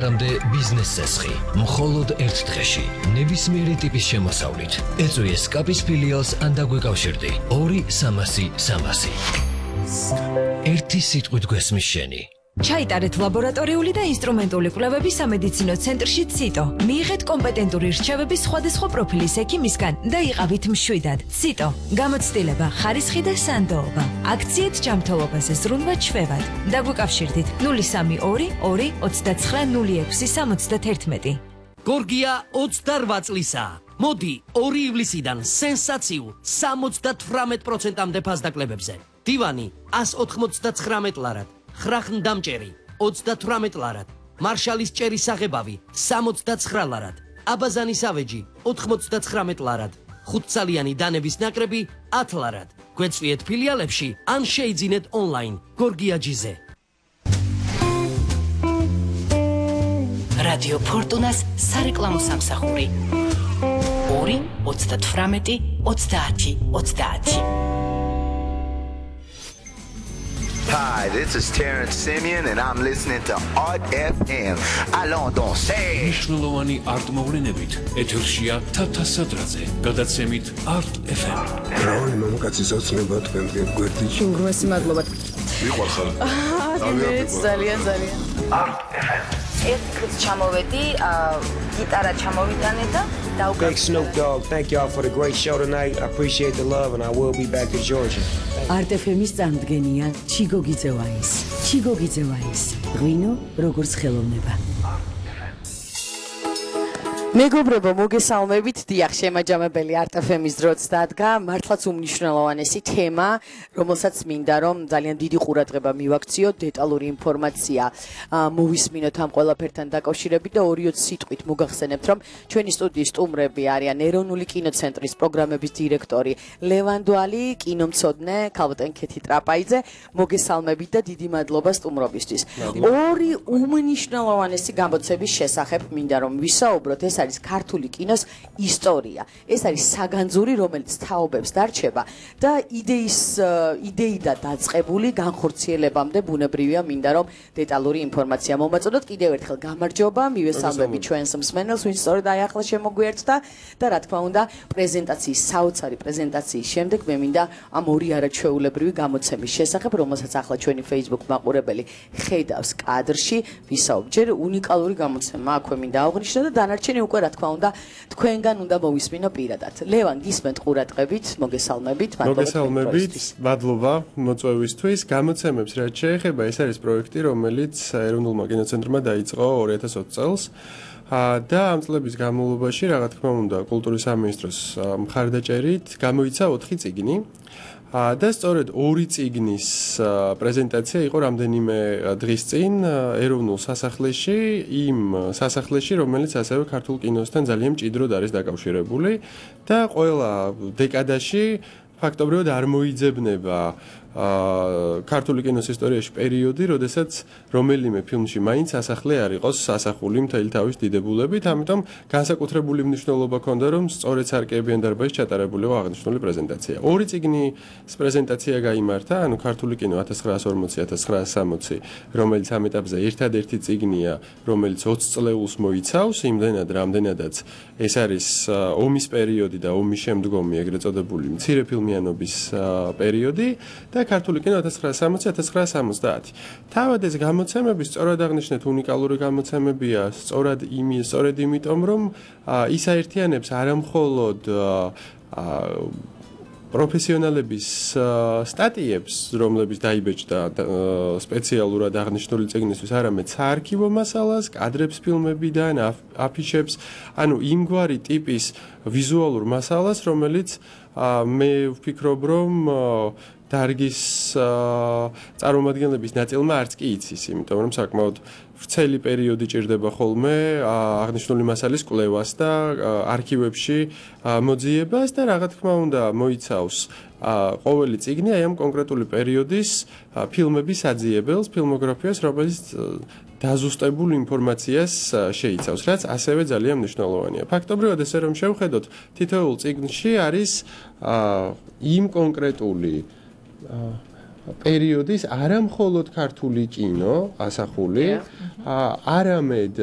რამდე ბიზნეს წესხი, მხოლოდ ერთ დღეში, ნებისმიერი ტიპის შემოსავლით. ეწვიე სკაპის ფილიალს ან დაგვეკავშირდი 2-300-300. ერთი სიტყვით გვესმის შენი. ჩაიტარეთ ლაბორატორიული და ინსტრუმენტული კვლევები სამედიცინო ცენტრში ციტო. მიიღეთ კომპეტენტური რჩევები სხვადასხვა პროფილის ექიმისგან და იყავით მშვიდად. ციტო. გამოცდილება, ხარისხი და სანდოობა. აქციით ჯანმრთელობაზე ზრუნვა ჩვევად. დაგვიკავშირდით 032 2 29 06 71. გორგია 28 წლისაა. მოდი 2 ივლისიდან სენსაციულ 78%-ამდე ფასდაკლებებზე. დივანი 199 ლარად. ხრახნდამჭერი 38 ლარად, მარშალის ჭერის საღებავი 69 ლარად, აბაზანის ავეჯი 99 ლარად, 5-წალიანი დანების ნაკრები 10 ლარად. გვეწვიეთ ფილიალებში ან შეიძინეთ ონლაინ გორგიაჯიზე. რადიო ფორტუნას სარეკლამო სამსახური 2 38 30 30. Hi, this is Terrence Simeon and I'm listening to Art FM. Allons danser. მნიშვნელოვანი არტ-მოვლენებით ეთერშია თათა სადრაძე. გადაცემით Art FM. რავი მამაკაცის ოცნება თქვენგან გვერდიში. უგრმესი მადლობა. მიყვარხარ. ძალიან. Art FM. ერთ დღეს ჩამოვედი, გიტარა ჩამოვიტანე და Big Snoop Dogg, thank y'all for the great show tonight. I appreciate the love and I will be back in Georgia. Art FM-ის წამდგენია ჩიგო გიძევაის. ჩიგო გიძევაის. ღვინო როგორც ხელოვნება. მეგობრებო, მოგესალმებით. დიახ, შემაჯამებელი Art FM-ის დროც დადგა. მართლაც უმნიშვნელოვანესი თემა, რომელსაც მინდა რომ ძალიან დიდი ყურადღება მივაქციოთ, დეტალური ინფორმაცია მოვისმინოთ ამ ყველაფერთან დაკავშირებით და 2-20 სიტყვით მოგახსენებთ, რომ ჩვენი სტუდიის სტუმრები არიან ეროვნული კინოცენტრის პროგრამების დირექტორი ლევან დვალი, კინომცოდნე ქალბატონ ქეთი ტრაპაიძე. მოგესალმებით და დიდი მადლობა სტუმრობისთვის. 2 უმნიშვნელოვანესი გამოცემის შესახებ მინდა რომ ვისაუბროთ. ეს არის ქართული კინოს ისტორია. ეს არის საგანძური, რომელიც თაობებს დარჩება და იდეიდან დაწყებული განხორციელებამდე ბუნებრივია მინდა რომ დეტალური ინფორმაცია მომაწოდოთ. კიდევ ერთხელ გამარჯობა, მივესალმები ჩვენს მსმენელს, ვინც სწორედ აი ახლა შემოგვიერთდა და რა თქმა უნდა, პრეზენტაციის საოცარი პრეზენტაციის შემდეგ მე მინდა ამ 2 არაჩვეულებრივი გამოცემის შესახებ, რომელსაც ახლა ჩვენი Facebook მაყურებელი ხედავს კადრში, ვისაუბრ. ჯერ უნიკალური გამოცემა აქვე მინდა აღვნიშნო და დანარჩენი უკვე რა თქმა უნდა თქვენგან უნდა მოვისმინო პირადად. ლევან, გისმენთ ყურადღებით, მოგესალმებით, მოგესალმებით, მადლობა მოწვევისთვის. გამოცემებს რაც შეეხება, ეს არის პროექტი, რომელიც ეროვნულმა კინოცენტრმა დაიწყო 2020 წელს. და ამ წლების განმავლობაში, რა თქმა უნდა, კულტურის სამინისტროს მხარდაჭერით გამოიცა 4 წიგნი. და სწორედ 2 წიგნის პრეზენტაცია იყო რამდენიმე დღის წინ ეროვნულ სასახლეში, იმ სასახლეში, რომელიც ასევე ქართულ კინოსთან ძალიან მჭიდროდ არის დაკავშირებული და ყველა დეკადაში ფაქტობრივად არ მოიძებნება ქართული კინოს ისტორიაში პერიოდი, როდესაც რომელიმე ფილმში მაინც სასახლე არ იყოს სასახული მთელი თავის დიდებულებით, ამიტომ განსაკუთრებული მნიშვნელობა ჰქონდა, რომ სწორედ სარკეებიან დარბაზში ჩატარებულიყო აღნიშნული პრეზენტაცია. 2 წიგნის პრეზენტაცია გაიმართა, ანუ ქართული კინო 1940-1960, რომელიც ამ ეტაპზე ერთადერთი წიგნია, რომელიც 20 წლეულს მოიცავს, იმდენად, რამდენადაც ეს არის ომის პერიოდი და ომის შემდგომი ეგრეთ წოდებული მცირე ფილმიანობის პერიოდი და ქართული კინო 1960-1970. თავად ეს გამოცემები სწორად აღნიშნეთ უნიკალური გამოცემებია, სწორად იმიტომ, რომ ის აერთიანებს არამხოლოდ პროფესიონალების სტატიებს, რომლებიც დაიბეჭდა სპეციალურად აღნიშნული წიგნისთვის, არამედ საარქივო მასალას, კადრებს ფილმებიდან, აფიშებს, ანუ იმგვარი ტიპის ვიზუალურ მასალას, რომელიც მე ვფიქრობ, რომ დარგის წარმომადგენლების ნაწილმა არც კი იცის, იმიტომ რომ საკმაოდ ვრცელი პერიოდი ჭირდება ხოლმე აღნიშნული მასალის კვლევას და არქივებში მოძიებას და რა თქმა უნდა მოიცავს ყოველი წიგნი აი ამ კონკრეტული პერიოდის ფილმების აძიებელს, ფილმოგრაფიას, რომელიც დაზუსტებულ ინფორმაციას შეიცავს, რაც ასევე ძალიან მნიშვნელოვანია. ფაქტობრივად ესე რომ შევხედოთ, თითოეულ წიგნში არის იმ კონკრეტული პერიოდის არა მხოლოდ ქართული კინო ასახული, არამედ